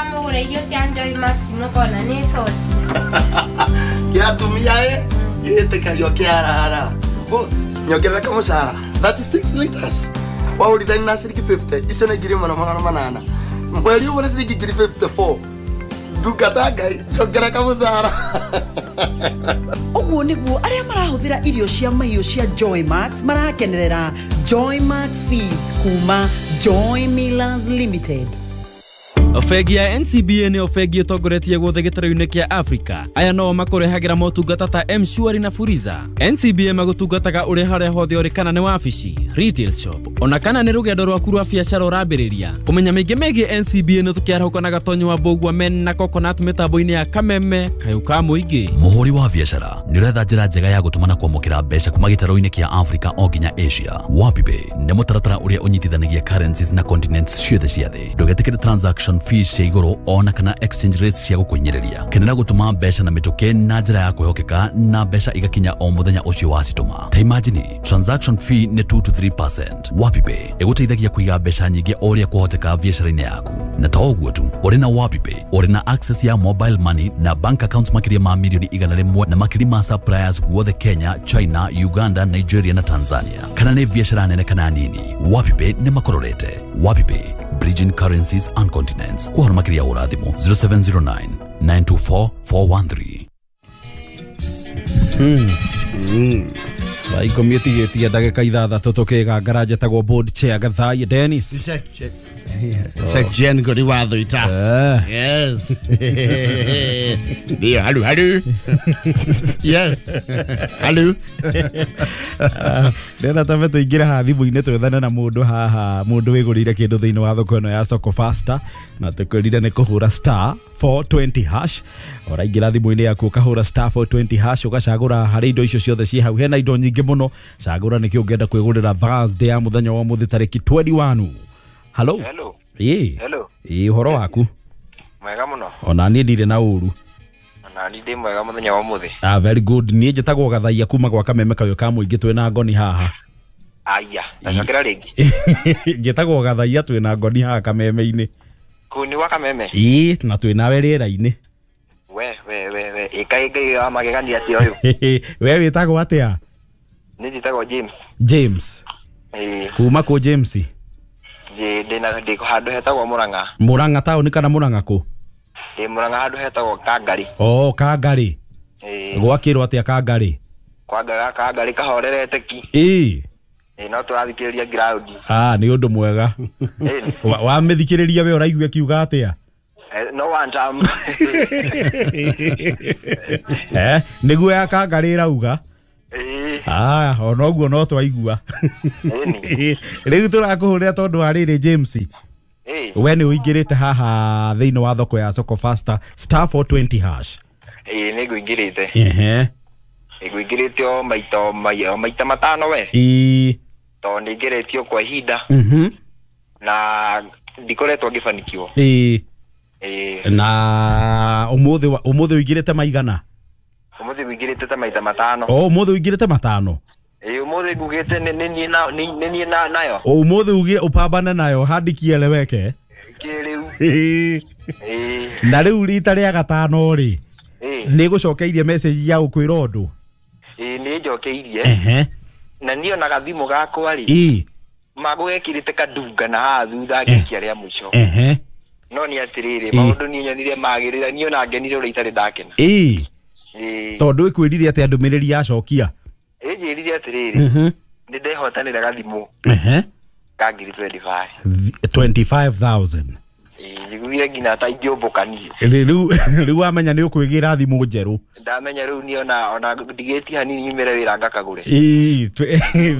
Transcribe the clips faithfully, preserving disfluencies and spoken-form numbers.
Wamũgũra irio cia Joy Max mũkona nĩ soti. Kĩa atumia ĩ gĩtĩkagio kĩarara. Boss, nyongerera kamũcara thirty-six liters. Wahũrithania na ciringi fifty, icio nĩ ngiri ĩmwe na magana manana. Mweri ũmwe nĩ ciringi ngiri fifty-four. Ndungata Ngai, njongera kamũcara. Ũguo nĩguo arĩa marahũthĩra irio cia mahiũ cia Joy Max marakenerera Joy Max Feeds kuma Joy Millers Limited. Bengi ya N C B A nĩyo bengi ĩtongoretie guothe gĩtarũ-inĩ kĩa Afrika. Aya no makũrehagĩra motungata ta M-Shwari na Fuliza. N C B A magũtungataga ũrĩ harĩa hothe ũrĩ, kana nĩ wabici, retail shop, ona kana nĩ rũgendo rwaku rwa biacara ũrambĩrĩria. Kũmenya maingĩ megiĩ N C B A nĩ tũkĩarahũka na Gatonyo wa Mbũgua men na Coconut mĩtambo-inĩ ya Kameme Kayũ ka Mũingĩ. Mũhũri wa biacara nĩ ũretha njĩra njega ya gũtũma na kwamũkĩra mbeca kuma gĩtarũ-inĩ kĩa Afrika o nginya Asia. WapiPay nĩ mũtaratara ũrĩa ũnyitithanagia currencies na continents ciothe cia thĩ. Ndũgetĩkĩre transaction fees cia igũrũ ona kana exchange rates cia gũkũhinyĩrĩria. Kenera gũtũma mbeca na mĩtũkĩ na njĩra ya kwĩhokeka na mbeca igakinya o mũthenya ũcio wacitũma. Ta imagine, transaction fee nĩ two to three percent. WapiPay ĩgũteithagia kũiga mbeca nyingĩ o ũrĩa kwahoteka biacara-inĩ yaku. Na to ũguo tu, ũrĩ na WapiPay ũrĩ na access ya mobile money na bank accounts makĩria ma mirioni igana rĩmwe na makĩria ma suppliers guothe Kenya, China, Uganda, Nigeria na Tanzania. Kana nĩ biacara nene kana nini, WapiPay nĩ makũrorete. WapiPay, bridging currencies and continents. Kwa makĩria hũra thimũ zero seven zero nine, nine two four, four one three. Hmm. Mm. Thaa ikũmi ĩtigĩtie ndagĩka ithathatũ tũkĩgangara njetagwo board chair Gathai Dennis. Section ngori watho ita. Yes. Ndio, halu halu. Yes. Halu. Ndĩrenda tambe tũingĩre haha thimũ-inĩ twethane na mũndũ haha, mũndũ wĩgũrĩire kĩndũ thĩinĩ wa thoko ĩno ya Soko Faster, na tũkwĩrire nĩ kũhũra star four twenty hash. Ũraingĩra thimũ-inĩ yaku ũkahũra star four twenty hash, ũgacagũra harĩ indo icio ciothe ciĩ hau. Hena indo nyingĩ mũno, cagũra nĩkĩ ũngĩenda kwĩgũrĩra Thursday ya mũthenya wa ũmũthĩ tarĩki twenty-one. Hello. Hello. Ĩĩ. Hello. Ĩĩ, ũhoro waku? Mwega mũno. Ona niĩ ndirĩ na ũru. Ona niĩ ndĩ mwega mũthenya wa ũmũthĩ. Ah, very good. Niĩ njĩtagwo Gathaia kuma gwa Kameme Kayũ ka Mũingĩ twĩna ngoni haha. Aya, ndacokera rĩngĩ. Njĩtagwo Gathaia twĩna ngoni haha Kameme-inĩ. Kũu nĩ gwa Kameme? Ĩĩ, na twĩnawe rĩera-inĩ. We, we, we, we, ĩkaĩ Ngai wa magegania atĩa ũyũ? We wĩtagwo atĩa? Niĩ njĩtagwo James. James. Ĩĩ. Kuma kũ James? Ndĩ ndĩna ndĩ handũ hetagwo Murang'a. Murang'a taũni kana Murang'a kũ? Ndĩ Murang'a handũ hetagwo Kangari. Oh, Kangari. Ĩĩ. Gwakĩrwo atĩa Kangari? Kwanga Kangari kahorerete ki. Ĩĩ. Ĩĩ, no tũrathikĩrĩria ground. Ah, nĩ ũndũ mwega. Wamĩthikĩrĩria we ũraigua ĩkiuga atĩa? No one time. Eh, nĩguo ya Kangari ĩrauga. Ah, ona ũguo no twaigua. Rĩu tũrakũhũrĩra tondũ wa rĩrĩ James. We nĩ ũingĩrĩte haha thĩinĩ wa thoko ya Soko Faster star four twenty hash. Ĩĩ, nĩ ngũingĩrĩte. Ehe. Ngũingĩrĩte o maita o maita matano we. Ĩĩ. Tondũ nĩ ngeretio kwa ihinda. Mhm. Na ndikoretwo ngĩbanikiwo. Ĩĩ. Ĩĩ. Na ũmũthĩ ũmũthĩ ũingĩrĩte maigana? Ũmũthĩ ngũingĩrĩte ta maita matano. Oh, ũmũthĩ ũingĩrĩte matano. Ĩĩ, ũmũthĩ ngugĩte nĩ niĩ na nĩ niĩ na nayo. Ũmũthĩ ugire ũpambane nayo handikieleweke. Kĩrĩu. Ĩĩ. Ĩĩ. Na rĩu rita rĩa gatano rĩ. Ĩĩ. Nĩ gũcokeirie message ya gũkwĩra ũndũ. Ĩĩ, nĩ njokeirie. Ehe. Na niĩ ona gathimũ gakwa rĩ. Ĩĩ. Magũgekĩrĩte kandunga na haha thutha ngĩikia rĩa mũico. Ehe. No nĩ atĩrĩrĩ, maũndũ niĩ nyonire magĩrĩra, niĩ ona ngenire ũrĩa itarĩ ndakena. Ĩĩ. Ĩĩ. Tondũ ĩkwĩrire atĩa ndũmĩrĩri yacokia? Ĩnjĩrire atĩrĩrĩ. Mhm. Nĩ ndehotanĩra gathimũ. Ehe. Ka ngiri twenty-five. twenty-five thousand. Ĩĩ, njiguire nginya ta ingĩũmbũka niĩ. Rĩu rĩu wamenya nĩ ũkwĩgĩra thimũ njerũ. Ndamenya rĩu niĩ ona ona ndigĩtie hanini nyumĩre wĩra ngakagũre. Ĩĩ,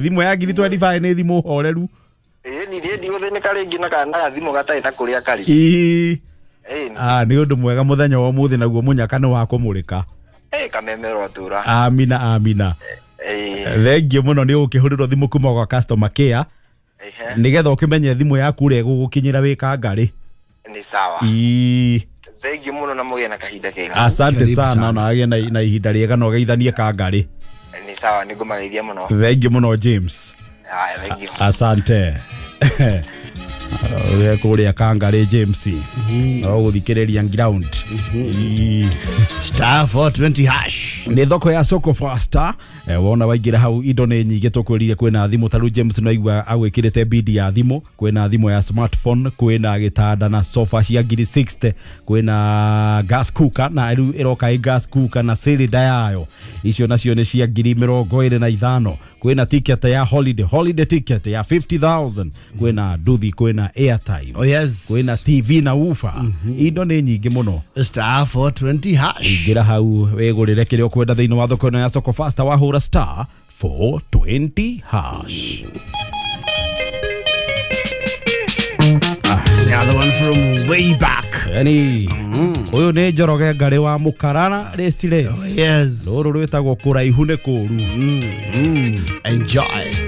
thimũ ya ngiri twenty-five nĩ thimũ horeru. Ĩĩ, niĩ ndigũthĩnĩka rĩngĩ na kana gathimũ gatarĩ na kũrĩa karĩ. Ĩĩ. Ĩĩ. Ah, nĩ ũndũ mwega mũthenya wa ũmũthĩ naguo mũnyaka nĩ wa kũmũrĩka. Ĩĩ, Kameme rwatũra. Amina, amina. Ĩĩ. Thengiũ mũno nĩ ũkĩhũrĩrwo thimũ kuma gwa customer care. Nĩgetha ũkĩmenye thimũ yaku ũrĩa ĩgũgũkinyĩra wĩ Kangari. Nĩ sawa. Ĩĩ. Thengiũ mũno na mũgĩe na kahinda kega. Asante sana na agĩe na na ihinda rĩega na ũgeithanie Kangari. Nĩ sawa, nĩ ngũmageithia mũno. Thengiũ mũno James. Haya, thengiũ. Asante. Ũrĩa kũrĩa Kangarĩ James no gũthikĩrĩria ground. Star four twenty hash. Nĩ thoko ya Soko Faster. Eh, wona waingĩra hau indo nĩ nyingĩ tũkwĩrire kwĩna thimũ ta rĩu James no aigua agwĩkĩrĩte bidi ya thimũ, kwĩna thimũ ya smartphone, kwĩna gĩtanda na sofa cia ngiri sixty, kwĩna gas cooker na rĩu ĩroka ĩ gas cooker na cylinder yayo, icio nacio nĩ cia ngiri mĩrongo ĩrĩ na ithano, kwĩna ticket ya holiday holiday ticket ya fifty thousand, kwĩna nduthi, kwĩna airtime. Oh yes. Kwĩna T V na woofer. Indo nĩ nyingĩ mũno. Star four twenty hash. Ingĩra hau wĩgũrĩre kĩrĩa ũkwenda thĩinĩ wa thoko ĩno ya Soko Faster wahũra star four twenty hash. The other one from way back. Yani ũyũ nĩ Njoroge Ngarĩ wa Mũkarara Race Race. Oh, yes. Rũrũ rwĩtagwo kũraihu nĩ kũũru. Enjoy.